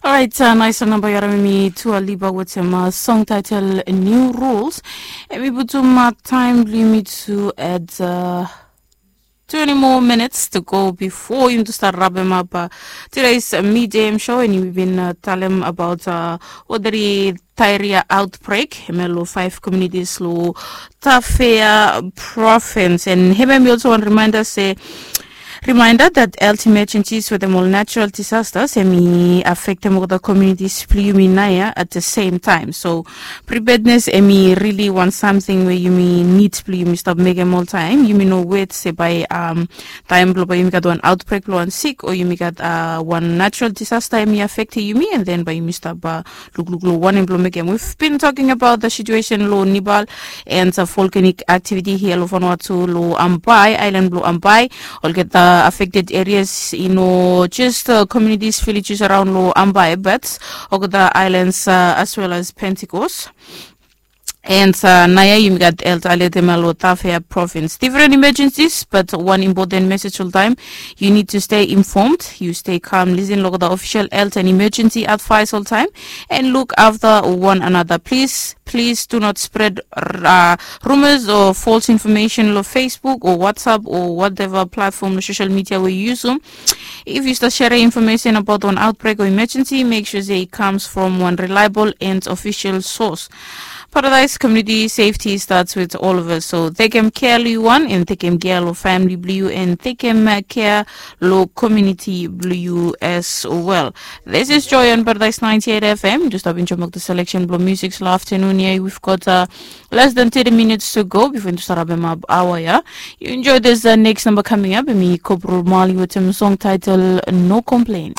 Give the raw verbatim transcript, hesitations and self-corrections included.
Orait, nais namba yu harim mi Dua Lipa wetem song title New Rules. Em i putum taem blong yumi tu at twenty more minutes to go before yumi tu start wrap em up today's midday show, and yumi bin talem about what the diarrhea outbreak em ya lo five communities lo Tafea province. And hemia mi also wan reminder se reminder that health emergencies wetem ol natural disasters em i affectem olgeta communities blong yumi naoia at the same time. So preparedness em i really wan something we yumi need blong yumi stap mekem oltaem. Yumi no wet se bae taem blong bae yumi gat wan outbreak blong wan sik o yumi gat wan natural disaster em i affectem yumi, and then bae yumi stap lukluk long wanem blong mekem. We've been talking about the situation long Nepal and volcanic activity here long Vanuatu, long Ambae, island blong Ambae. Olgeta affected areas i no just communities, villages around long Ambae, but olgeta islands as well as Pentecost. And naoia yumi gat health alert em ya long Tafea province. Different emergencies, but one important message oltaem: you need to stay informed, you stay calm, listen long the official health and emergency advice oltaem, and look after one another. Please, please do not spread rumors or false information long Facebook or WhatsApp or whatever platform long social media we yu yusum. If yu stap sere information about wan outbreak o emergency, make sure se it comes from one reliable and official source. Paradise community safety starts with all of us. So tekem kea long yu wan, and tekem kea long famili blong yu, and tekem kea long community blong yu as well. This is Joy on Paradise ninety-eight F M. Just stap enjoem the selection blong music long afternoon ya. We've got less than thirty minutes to go before yumi start wrap em up aoa ya. Yu enjoy this next number coming up. Em i Kobro Marley wetem song title No Complain.